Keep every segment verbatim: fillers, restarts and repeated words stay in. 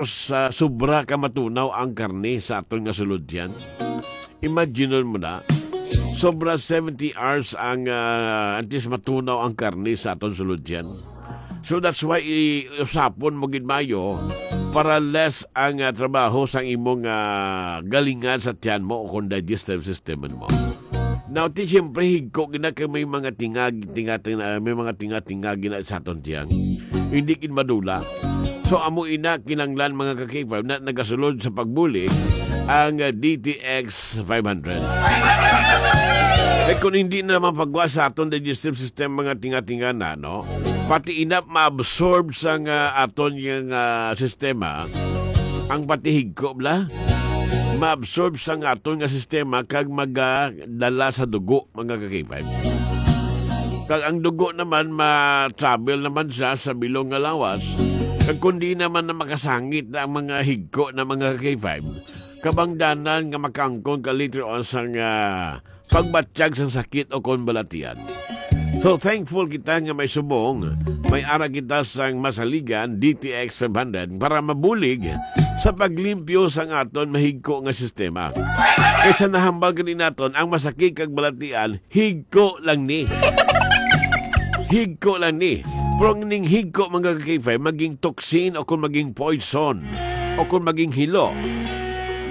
sa sobra ka matunaw ang karne sa aton nga sulod tiyan. Imagine mo na, sobra seventy hours ang, ah, antes matunaw ang karne sa aton sulod tiyan. So that's why i-, usapon mo gid maayo para less ang, ah, trabaho sang imong, ah, galingan sa tiyan mo o kung digestive system mo. Now, ti, siyempre, higko gina kay may mga tingag, tinga, tinga, may mga tinga-tinga gina sa aton tiyan. Hindi gid madula. So, amo ina, kinanglan, mga ka-K five, na nagasulod sa pagbulig ang, ah, D T X five hundred. Eh, kung hindi na mapagwa sa aton digestive system, mga tinga-tinga na, no? Pati ina, maabsorb sa nga aton yung, ah, sistema, ang pati higko, bla? Maabsorb sa nga aton nga sistema kag magadala sa dugo, mga ka-K five. Kag ang dugo naman, ma-travel naman siya sa bilog nga lawas. Kag kundi naman na makasangit na ang mga higko na mga ka-K five, kabangdanan nga makaangkon ka later on sang, ah, pagbatyag sang sakit o kon balatian. So, thankful kita nga may subong, may ara kita sang masaligan, D T X five hundred, para mabulig sa paglimpyo sang aton mahigko nga sistema. Kaysa nahambal gani naton ang masakit kag balatian, higko lang ni. Higko lang ni. Pero ang ning higko, mga ka-K five, maging toxin o kung maging poison o kung maging hilo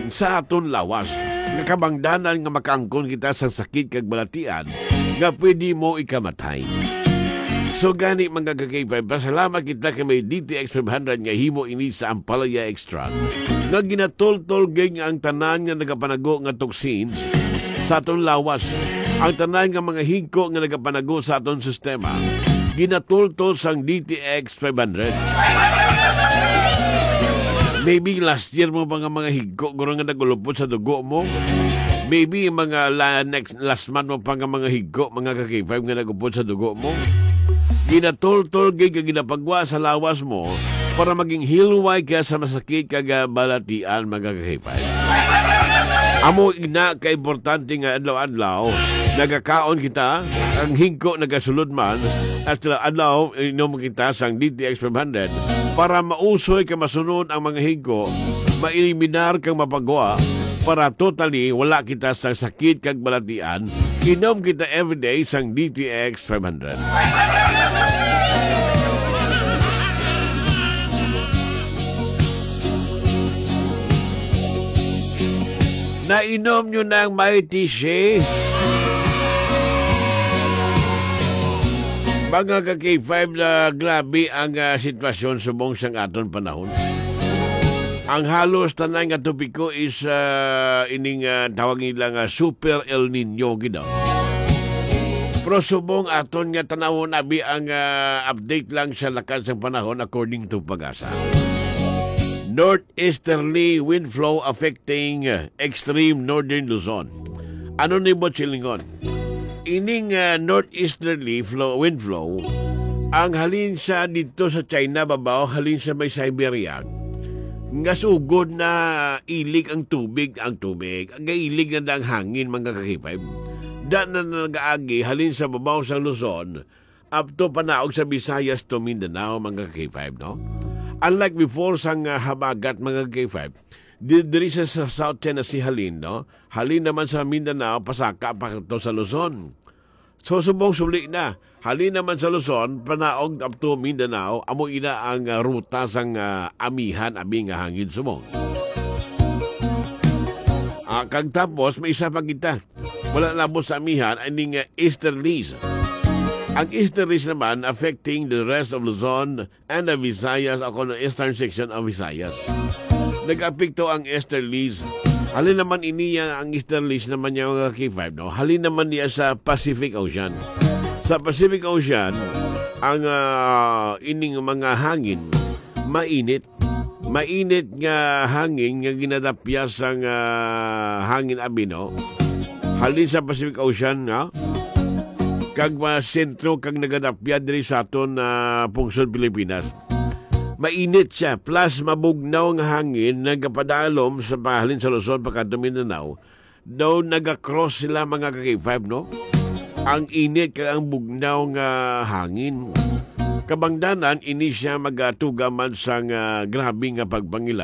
sa aton lawas, nga kabangdanan nga makaangkon kita sa sakit kag balatian nga pwede mo ikamatay. So gani, mga ka-K five, pasalamat kita kay may D T X five hundred nga himo ini sa Ampalaya Extract, nga ginatultol gid nga ang tanan nga nagapanago nga toxins sa aton lawas, ang tanan nga mga higko nga nagapanago sa aton sistema, ginatultol sang D T X five hundred. Maybe last year mo pa nga mga higko, guro, nga nagulupot sa dugo mo. Maybe mga la-, next, last month mo pa nga mga higko, mga ka-K five, nga nagupot sa dugo mo. Ginatultol gid kag ginapagwa sa lawas mo para maging hilway kaya sa masakit kag, ah, balatian, mga ka-K five. Amo ina ka importante nga adlaw-adlaw nagakaon kita, ang higko nagasulod man, at adlaw inom kita sang D T X five hundred para mausoy ka masunod ang mga higko, maeliminar kag mapagwa para totally wala kita sa sakit kag balatian. Inom kita everyday sang D T X five hundred. Nainom nyo na ang Mighty Shea? Mga ka-K five, na grabe ang, ah, sitwasyon subong sang aton panahon. Ang halos tanan nga topiko is, ah, ining, ah, tawag nila nga Super El Nino, gid, no? Pero subong aton nga tanawon, abi, ang, ah, update lang sa lakad sang panahon according to PAGASA. Northeasterly wind flow affecting, ah, extreme northern Luzon. Ano ni Bochilingon? Ining, ah, northeasterly flow, wind flow, ang halin sa dito sa China, babaw, halin sa may Siberia, nga sugod na ilig ang tubig, ang tubig, gailig na ang hangin, mga ka-K five. Da na nagaagi halin sa babaw sa Luzon, up to panaog sa Visayas to Mindanao, mga ka-K five, no? Unlike before, sang, ah, habagat, mga ka-K five, di-, diri sa, sa South China Sea halin, no? Halin naman sa Mindanao, pasaka pa to sa Luzon. So, subong suli na. Halin naman sa Luzon, panaog up to Mindanao, amo ina ang, ah, ruta sang, ah, amihan, abi nga hangin subong. Ah, kag tapos, may isa pa kita. Wala labot sa amihan, aning, ah, easterlies. Ang easterlies naman affecting the rest of Luzon, and the Visayas, o kon eastern section of Visayas. Nag-apekto ang easterlies. Halin naman ini, ang easterlies naman niya, mga K five, no? Halin naman niya sa Pacific Ocean. Sa Pacific Ocean, ang, ah, ining mga hangin, mainit. Mainit nga hangin nga ginadapya sang, ah, hangin, abi, no? Halin sa Pacific Ocean, no? Kag mga sentro kag nagadapya diri sa aton, ah, pungsod Pilipinas. Mainit siya, plus mabugnaw nga hangin nagapadalom sa pahalin sa Luzon pakadto Mindanao. Daw naga-cross sila, mga ka-K five, no? Ang init kag ang bugnaw nga hangin. Kabangdanan ini siya magatuga man sang, ah, grabe nga pagpangila.